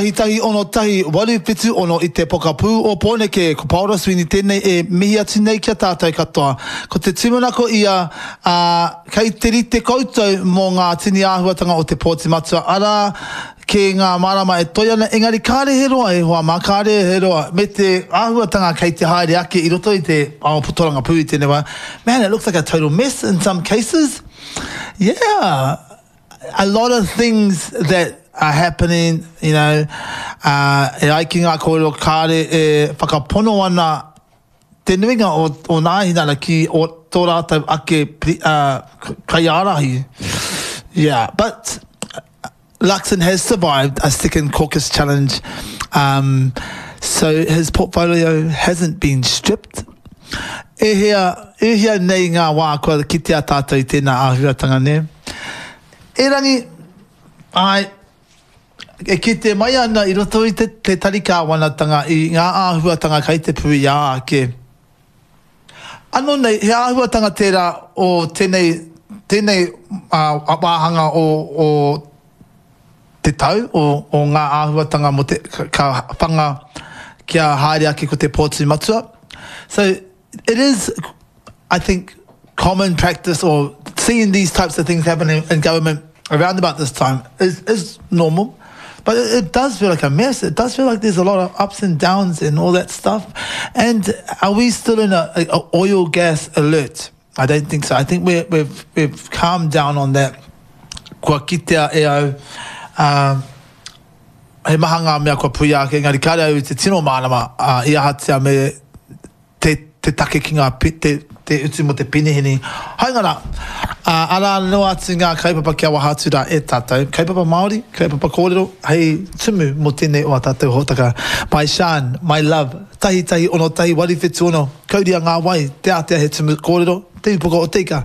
1 1 6 8 7 6 i te pokapū o Pōneke. Ko Paora Sweeney tēnei e mihi atu nei ki a tātou katoa. Ko te tūmanako ia, ā, kei te rite koutou mō ngā tini āhuatanga o te pōti matua, arā, kē ngā marama e toe ana, engari kāre he roa e hoa mā, kāre he roa, me te āhuatanga kei te haere ake i roto i te ao torangapū i tēnei wā, man it looks like a total mess in some cases, yeah, a lot of things that are happening, you know, uh, e ai ki ngā kōrero kāre e whakapono ana te nuinga o, o Nāhinara ki o tō rātou ake uh, kaiārahi. Yeah, but Luxon has survived a second caucus challenge, um, so his portfolio hasn't been stripped. E hea, e hea nei ngā wā kua kitea tātou i tēnā āhuatanga, nē? Erangi, āe, e kite mai ana i roto i te, te tari kāwanatanga i ngā āhuatanga kei te puia ake. Anō nei, he āhuatanga tērā o tēnei, tēnei wāhanga o, o te tau, o, o ngā āhuatanga mō te, ka whanga kia haere ake ko te pōtū matua. So, it is, I think, common practice or seeing these types of things happen in, in government around about this time is, is normal. But it, it does feel like a mess. It does feel like there's a lot of ups and downs and all that stuff. And are we still in a, a, a oil gas alert? I don't think so. I think we're, we've, we've calmed down on that. Kua kitea e au, uh, he maha ngā mea kua puia ake, engari kāre au i te tino mārama uh, i ahatia me te, te take ki ngā, te, te utu mō te peniheni. Hāunga rā, ā, arā noa atu ngā kaupapa kia waha atu rā e tātou, kaupapa Māori, kaupapa kōrero, hei tumu mō tēnei o ā tātou hōtaka. My Shan, my love, 1 1 6 1 8 7 6, kauria ngā wai, te ātea he tumu kōrero, te upoko o te ika.